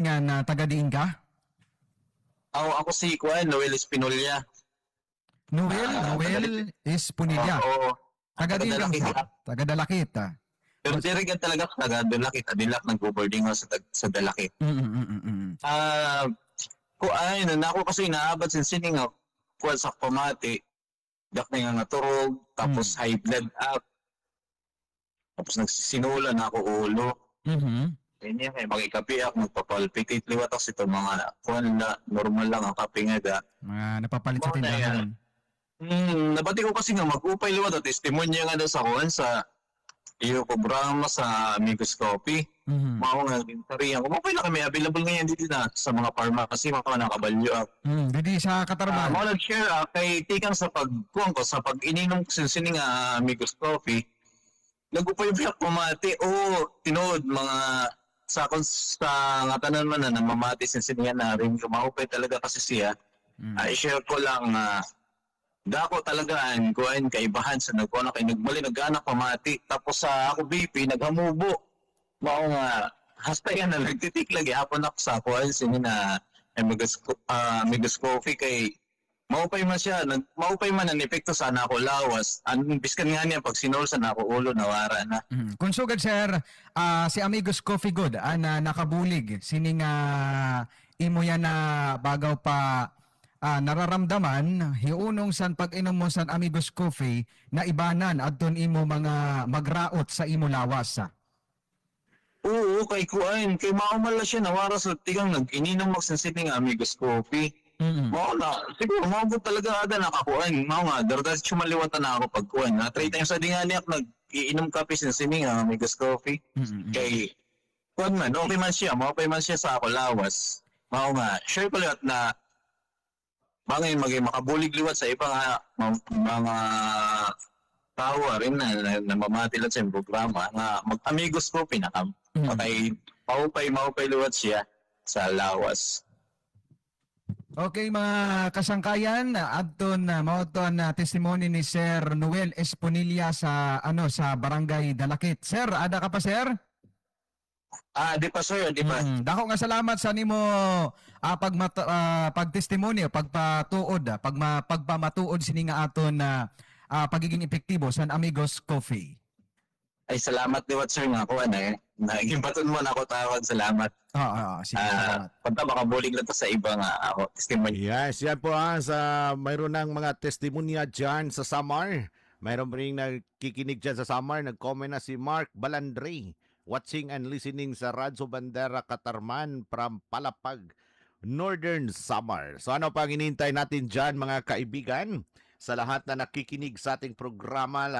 Nga na taga diin ka? Ako si Kuan, Noel Espinolia. Noel, Noel Esponilla. Oo. Taga diin ka? Taga Dalakit. Taga Dalakit, ah. Pero diri ka talaga taga Dalakit, Adilak, nagbo-boarding house sa Dalakit. Ah, kuan na ako kasi naabat sin sining nga kuan sa pamati. Dak na nga naturog, tapos high blood up. Tapos nagsisinula na ako ulo. Kanya kay makikapi ako, magpapalpitate liwat ako sa mga kuan na normal lang ang kape nga da. Mga napapalit sa Mao na tindahan. Nabati ko kasi nga mag-upay liwat at testimonya nga daw sa kuan sa iyo programa sa Amigos Coffee. Mao nga sariyan ko. Mao na kami available ngayon dito na sa mga pharmacy, mga nakabalyo. Didi sa Katarman. Mao nag-share kay tikang sa pagkuan ko sa pag-ininom ko sini nga Amigos Coffee. Nagupay biyak pamati o tinuod mga sa akong sa nga tanan man na namamati sin sini nga na rin maupay talaga kasi siya. Ay, share ko lang dako talaga ang kuan kaibahan sa nagkuan kay nagbali nagana pamati, tapos sa ako BP naghamubo. Mao nga hasta yan na nagtitik lagi hapon ako sa kuan sini na Amigos Coffee kay maupay man siya, maupay man ang epekto sa nako lawas. Ang biskan nga niya pag sinol sa nako ulo, nawara na. Kung sugad, sir, si Amigos Coffee good na nakabulig sini nga imo yan na bagaw pa nararamdaman hiunong san pag-inom mo san Amigos Coffee na ibanan adton imo mga magraot sa imo lawas, ah. Oo, kay kuan kay mao man lang siya nawara sa tigang nag-ininom magsensitive nga Amigos Coffee. Mao na, siguro mao gud talaga ada nakakuan. Mao nga dardas sumaliwatan na ako pagkuan. Na three times sa di nga niya nag-iinom kape sin sini nga Amigos Coffee. Kay kuan man, okay man siya, mao man siya sa ako lawas. Mao nga, share ko liwat na bangin maging makabulig liwat sa iba nga mga tao rin na mamati lang sa programa nga mag-Amigos Coffee na kam. Kay maupay maupay liwat siya sa lawas. Okay, mga kasangkayan, adton na mao to na testimony ni Sir Noel Esponilla sa ano sa Barangay Dalakit. Sir, ada ka pa, sir? Ah, di pa, sir, di pa. Dako nga salamat sa nimo pagtestimony, pagpatuod, pagpamatuod sini nga aton na pagiging epektibo sa Amigos Coffee. Ay, salamat liwat, sir, nga kuan eh. Naging baton mo na ako tawag, salamat. Oo, sige, salamat. Punta makabulig lang to sa iba nga ako testimony. Yes, yan po sa mayroon ng mga testimonya dyan sa Samar. Mayroon rin nakikinig dyan sa Samar. Nag-comment na si Mark Balandre. Watching and listening sa Radyo Bandera Katarman from Palapag, Northern Samar. So ano pang hinihintay natin dyan, mga kaibigan? Sa lahat na nakikinig sa ating programa,